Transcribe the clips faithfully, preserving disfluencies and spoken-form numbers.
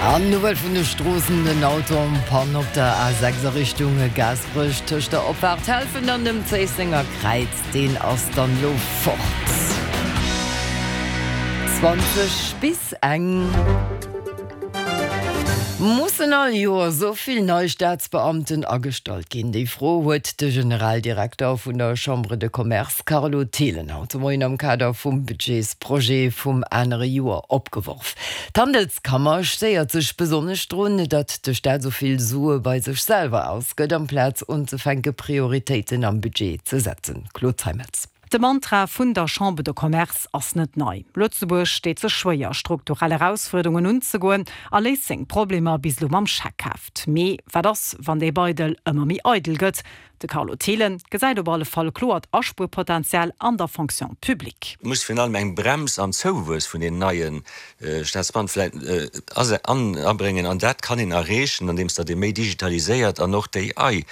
An Nouvelle vun de Stroossen, Den Auto en panne op der A sechs a Richtung Gaasperech tëscht der Opfaart Helfent an dem Zéissenger Kräiz, deen ass dann elo fort. Zwanzeg bis eng. Mussen all Joer esou vill nei Staatsbeamten agestallt ginn? Déi Fro huet de Generaldirekter vun der Chambre de Commerce Carlo Thelen haut de Moien am Kader vum Budgetsprojet vum anere Joer opgeworf. D'Handelskammer stéiert sech besonnesch drun, datt de Staat esou vill Sue bei sech selwer ausgëtt, amplaz unzefänke Prioritéiten am Budget ze setzen. Claude Zeimetz. De Mantra vun der Chambre de Commerce ass net nei, Lëtzebuerg deet sech schwéier, strukturell Erausfuerderungen unzegoen a léist seng Problemer bis elo mam Scheckheft. Mee wat ass, wann dee Beidel ëmmer méi eidel gëtt? De Carlo Thelen gesäit op alle Fall kloert Aspuerpotenzial an der Fonction publique. Et muss virun allem eng Brems am Zouwuess vun den neie Staatsbeamte vläicht abréngen. An dat kann een erreechen, andeems datt ee méi digitaliséiert an och d'A I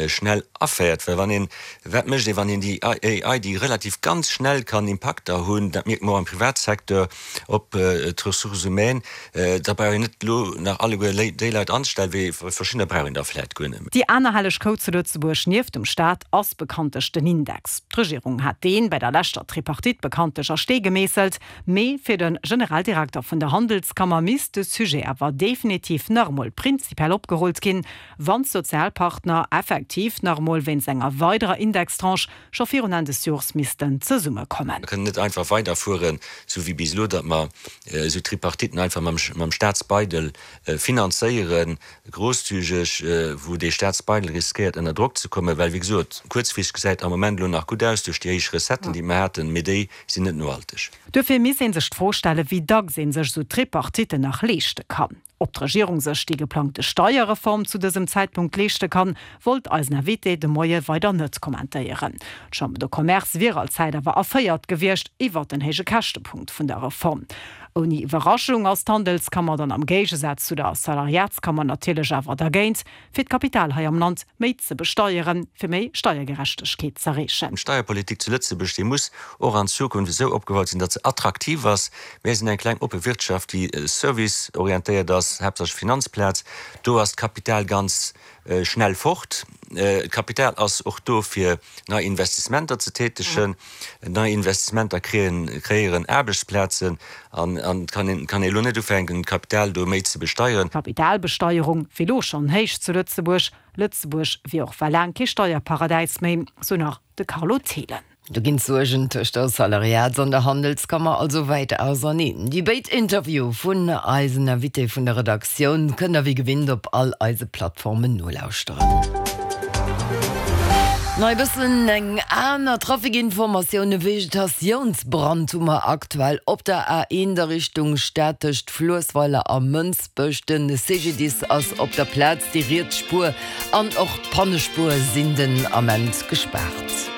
schnell aféiert. Well wann een, wat mécht ee wann een déi A I, déi relativ ganz schnell kann Impakter hunn, dat mierke mer och am Privatsecteur, op d'Ressources humaines, da brauch een net elo nach alleguer déi Leit anzestellen, wéi verschiddener brauch een der vläicht guer net méi. Déi aner helleg Kou zu Lëtzebuerg nieft dem Staat ass bekanntlech den Index. D'Regierung hat deen bei der leschter Tripartite bekanntlech a Stee gemeesselt. Mee fir de Generaldirekter vun der Handelskammer misst de Sujet awer definitiv nach emol prinzipiell opgerullt ginn, wann d'Sozialpartner effektiv nach emol wéinst enger weiderer Indextranche scho virun Enn des Jors missten zesummekommen. Mer kënnen net einfach weiderfueren, esou wéi bis elo, datt mer esou Tripartiten einfach mam Staatsbeidel finanzéieren, grosszügeg, wou dee Staatsbeidel riskéiert ënner Drock ze kommen, well, wéi gesot, kuerzfristeg gesäit am Moment elo nach gutt aus duerch déi héich Recetten, déi mer haten, mee déi sinn net nohalteg. Duerfir misst ee sech d'Fro stellen, wéi dacks ee sech esou Tripartiten nach leeschte kann. Ob d'Regierung sech déi geplangte Steierreform zu dësem Zäitpunkt leeschte kann, wollt eisen Invité de Moie weider net kommentéieren. D'Chambre de Commerce wier all Zäit awer erféiert gewiescht iwwert den héije Käschtepunkt vun der Reform. Ouni Iwwerraschung ass d'Handelskammer dann am Géigesaz zu der Salariatskammer natierlech awer dergéint, fir d'Kapital hei am Land méi ze besteieren, fir méi Steiergerechtegkeet z'erreechen. D'Steierpolitik zu Lëtzebuerg, déi muss och an Zukunft esou opgebaut sinn, datt se attraktiv ass. Mir sinn eng kleng oppe Wirtschaft, déi serviceorientéiert ass, haaptsächlech Finanzplaz. Do ass d'Kapital ganz schnell fort. D'Kapital ass och do fir nei Investissementer ze tätegen. Nei Investissementer kreéieren Aarbechtsplazen an et kann een kann ee elo net ufänken d'Kapital do méi ze besteieren. D'Kapitalbesteierung wier elo schonn héich zu Lëtzebuerg. Lëtzebuerg wier och well laang kee Steierparadäis méi, sou nach de Carlo Thelen. Do ginn d'Suergen tëscht der Salariats an der Handelskammer also wäit auserneen. Déi béid Interviewe vun eisen Invité vun der Redaktioun kënnt der wéi gewinnt op all eise Plattformen nolauschteren. Nei e bëssen eng aner Trafikinformatioun, E Vegetatiounsbrand hu mer aktuell op der A eent a Richtung Stad tëscht Fluessweiler a Mënsbech. De C G D I S ass op der Plaz, déi riets Spuer an och d'Pannespuer sinn den Ament gespaart.